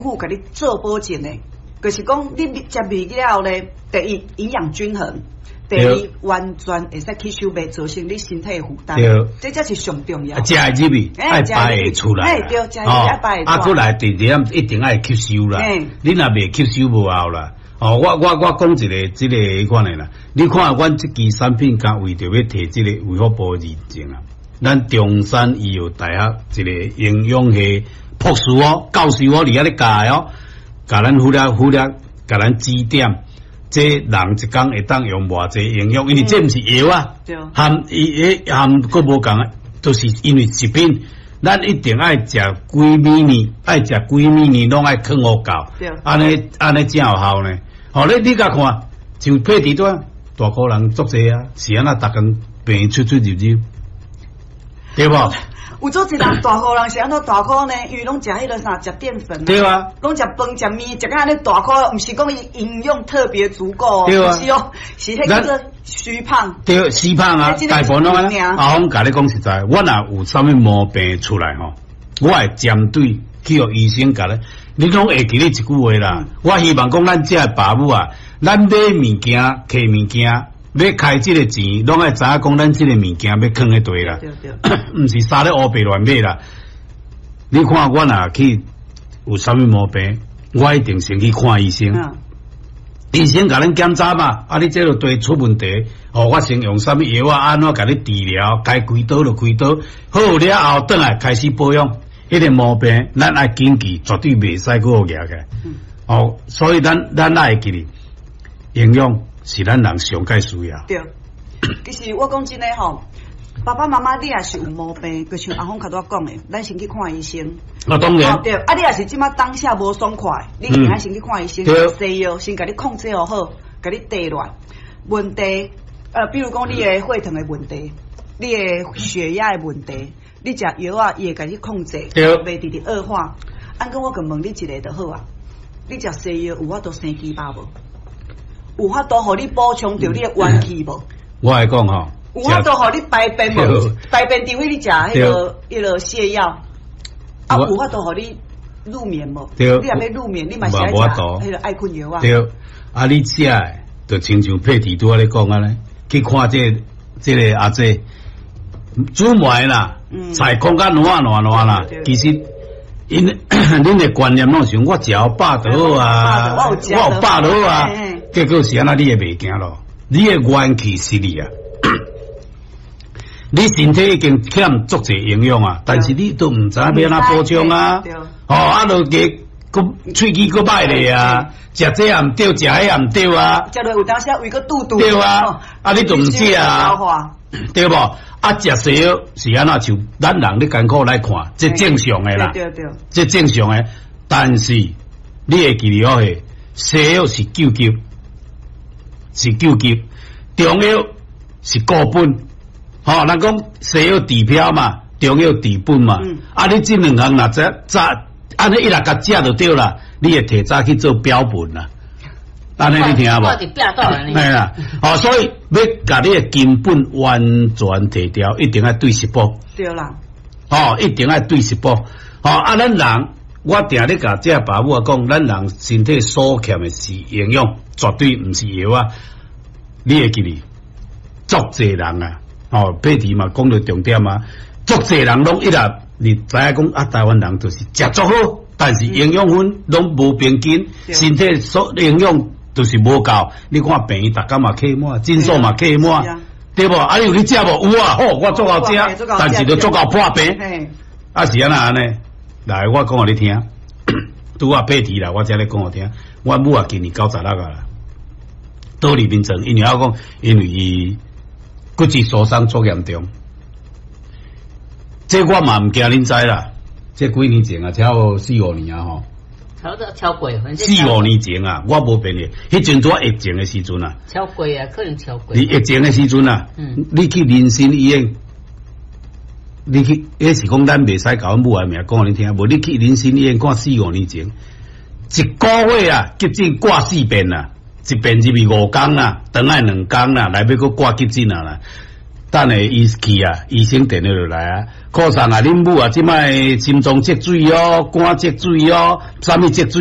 府共你做保證的，就是講你食麵了後咧，第一營養均衡，第二完全會使吸收，袂造成你身體的負擔。這才是上重要。食會入去，愛排會出來。對，食會愛排會出來。啊，閣來第二點一定愛吸收啦。你若袂吸收無效啦。哦，我講一个這个彼款的啦。你看阮這支產品，敢為著欲提這个衛福部認證啊。咱中山醫藥大學一个營養系博士哦，教授哦，佇遐咧教哦，共咱負責負責，共咱指點，這人一工會當用偌濟營養，因為這毋是藥啊，含伊彼含閣無仝，就是因為食品，咱一定愛食幾暝呢，愛食幾暝呢，攏愛囥予夠，按呢按呢才有效呢。吼，你共看，像配置端大箍人足濟啊，是按怎逐工病出出入入，對無？有足濟人大箍人是按怎大箍呢？因為攏食彼个啥，食澱粉。對啊。攏食飯食麵，食甲按呢大箍，毋是講伊營養特別足夠，對啊。是哦，是彼叫做虛胖。對，虛胖啊，大部分攏按呢。阿峰共你講實在，我若有啥物毛病出來吼，我會針對去予醫生共你，你攏會記得一句話啦。我希望講咱遮的爸母啊，咱買物件、摕物件，欲開這个錢，攏愛知影講咱這个物件欲囥佇佗啦，毋是啥咧烏白亂買啦。你看我若去有啥物毛病，我一定先去看醫生。醫生共咱檢查嘛，啊，你這个地出問題，哦，我先用啥物藥啊，按怎共你治療，該開刀就開刀，好了後，轉來開始保養。彼个毛病，咱愛緊記，絕對袂使閣予夯起來。哦，所以咱愛會記得營養是咱人上蓋需要。對，其實我講真的吼，爸爸媽媽你若是有毛病，就像阿峰頭拄仔講的，咱先去看醫生。啊，當然。對，啊，你若是這馬當下無爽快，你一定愛先去看醫生，西藥先共你控制予好，共你提落來。問題，比如講你的血糖的問題，你的血壓的問題，你食藥啊，伊會共你控制，袂直直惡化。按講我閣問你一个就好啊，你食西藥有法度生雞巴無？有法度予你補充著你的元氣無？我來講吼，有法度予你排便無？排便除非你食彼个瀉藥，啊，有法度予你入眠無？你若欲入眠，你嘛是愛食彼个愛睏藥啊？對，啊，你食的就親像佩蒂拄仔咧講按呢，去看這个阿姐煮糜啦，菜空甲爛爛爛啦，其實𪜶恁的觀念攏想我食予飽就好啊，我有飽就好啊，結果是按怎你會袂行咯？你的元氣失去啊！你身體已經欠足濟營養啊，但是你都毋知影欲按怎補充啊！哦，啊，落加閣喙齒閣歹咧啊，食這也毋對，食彼也毋對啊。食落有當時胃閣肚肚。對啊，啊你都毋食啊，對無？啊，食西藥是按怎？像咱人咧艱苦來看，這正常的啦，這正常的。但是你會記得哦，西藥是救急，是救急，中藥是固本。吼，人講西藥治標嘛，中藥治本嘛。啊，你這兩項若早早按呢一來共食就對啦，你會提早去做標本啦。按呢你聽無？嘿啦，哦，所以欲共你的根本完全提掉，一定愛對食補。對啦。哦，一定愛對食補。哦，啊，咱人，我定咧共這爸母仔講，咱人身體所欠的是營養，絕對毋是藥啊。你會記得，足濟人啊，哦，佩蒂嘛講著重點啊，足濟人攏一直你知影講啊，台灣人就是食足好，但是營養分攏無平均，身體所營養就是無夠。你看病院逐工嘛客滿，診所嘛客滿，對無？啊，你有去食無？有啊，好，我足夠食，但是就足夠破病。啊，是按怎按呢？來，我講予你聽，拄仔佩蒂啦，我才咧講予聽。我母啊，今年96啊啦，倒佇眠床，因為我講，因為伊骨質疏鬆足嚴重。這我嘛毋驚恁知啦，這幾年前啊，超過四五年啊吼。超超過，四五年前啊，我無騙你，彼陣拄仔疫情的時陣啊。超過啊，可能超過。你疫情的時陣啊，你去民生醫院，你去，彼是講咱袂使共阮母的名講予恁聽，無你去民生醫院看四五年前，一個月啊，急診掛四遍啊，一遍入去5工啊，轉來2工啦，來尾閣掛急診啊啦。等下醫去啊，醫生電話就來啊，柯生啊，恁母啊，這擺心臟積水哦，肝積水哦，啥物積水？